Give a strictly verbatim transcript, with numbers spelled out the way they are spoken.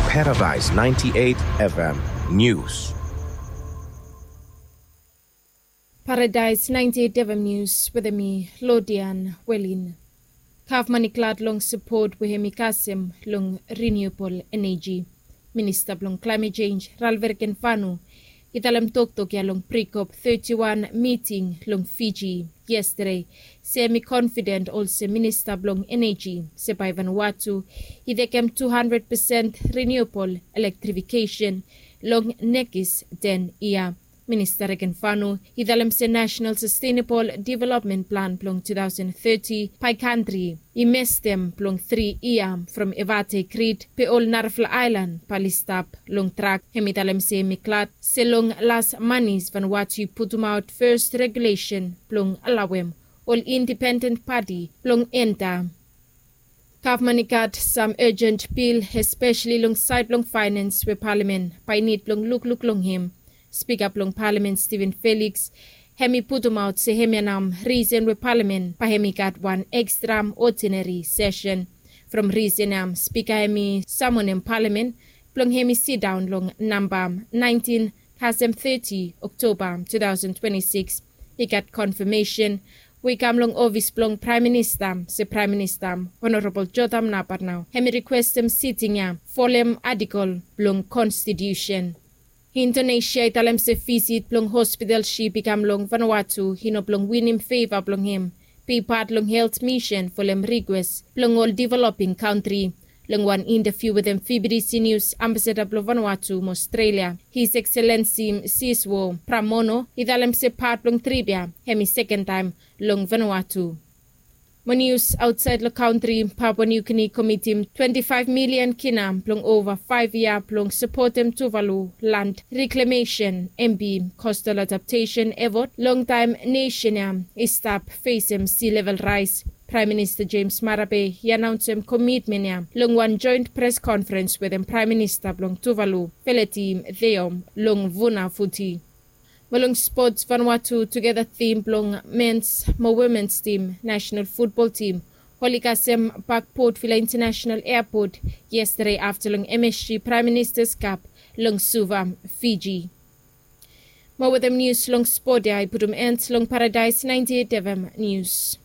Paradise ninety-eight F M News. Paradise ninety-eight F M News wetem mi, Lodian Welin. Gavman i glad long sapot we hem i kasem long renewable energy. Minista blong climate change, Ralph Erekenfanu, i talem toktok ya long pre-COP thirty-one miting long Fiji yestade, se hem i confident olsem minista blong energy, se bae Vanuatu i tekem two hundred percent renewable electrification long nekis ten yia. Minista Erekenfanu i talem se National Sustainable Development Plan blong two thousand thirty bae kantri i mestem blong tri yia from Evate Crete, be ol narafala aelan bae oli stap long trak. Hem i talem se hem i glad se long las manis Vanuatu i putumaot fes regulesen blong alaoem ol independen pati blong enta. Gavman i gat sam urgent bil, espeseli long saed blong faenans we palamen bae i nid blong lukluk long hem. Spika blong palamen Stephen Felix hem i putumaot se hemia nao risen we palamen bae hem i gat wan ekstra odinari sesen. From risen ya spika hem i samonem palamen blong hem i sidaon long namba naentin kasem teti Oktoba two thousand twenty-six. I gat konfamesen we i kam long ofis blong praem minista se praem minista, Honorabol Jotham Napat, nao hem i rikwestem siting ya folem atikol blong konstitiusen. Indonesia i talem se visit blong hospital sip i kam long Vanuatu i no blong winim feva blong hem, be i pat long helt misen folem rikwes blong ol developing kantri. Long wan intaviu wetem B B C News, ambasada blong Vanuatu mo Australia, His Excellency Siswo Pramono, i talem se pat blong trip ya hem i seken taem long Vanuatu. Mo nius aotsaed long kantri, Papua New Guinea komitim twenti faef milian kina blong ova faef yia blong sapotem Tuvalu land reclamation, M B, coastal adaptation effort, longtaem nesen ya i stap fesem sea level rise. Praem Minista James Marape i anaonsem komitmen ya long wan joent pres konferens wetem Praem Minista blong Tuvalu, Feleti Theo, long Funafuti. Mo long spots, Vanuatu tugeta tim blong mens mo womens tim nasenal futbol tim oli kasem bak Port Vila International Airport yestade afta long M S G Praem Ministas Kap long Suva, Fiji. Mo wetem nius long spot ya i putum en long Paradaes naenty eight F M Nius.